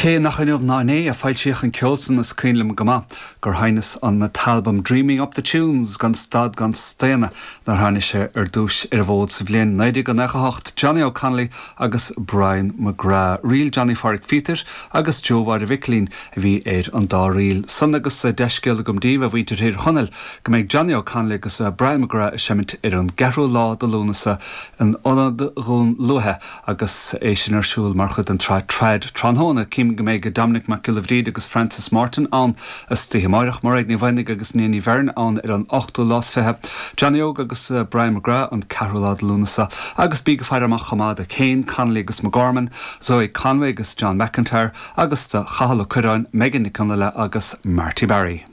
Cé nach inniu ná inné a foilsíodh an ceol san is cuimhin liom go maith gur sheinneas an t-albam Dreaming Up The Tunes gan stad gan staonadh nuair tháinig sé ar dtúis ar an bhfód sa bhliain 1998, Johnny O'Connolly agus Brian McGrath, ríl Johnny Pháraic Phíotair agus Joe Mháire Mhicilín a bhí ar an dá ríl san agus dea-scéal agam daoibh, a mhuintir Thír Chonaill, go mbeidh Johnny O'Connolly agus Brian McGrath ag seimint ar an gceathrú lá de Lúnasa in Ionad Dhún Lúiche Agus é sin ar siúl mar chuid den tsraith Trad Tráthnóna, cím go mbeidh Dominic Mac Giolla Bhríde agus Francis Martin ann istoíche amáireach, Mairéad Ní Mhaonaigh agus Nia Ní Bheirn ann ar an ochtú lá is 20, Johnny Óg agus Brian McGrath an ceathrú lá de Lúnasa, agus bíg ag faire amach chomh maith do Kane Connolly agus McGorman, Zoe Conway agus John McIntyre, agus do Chathal Ó Cuirreáin, Megan Nic Fhionnghaile agus Marty Barry.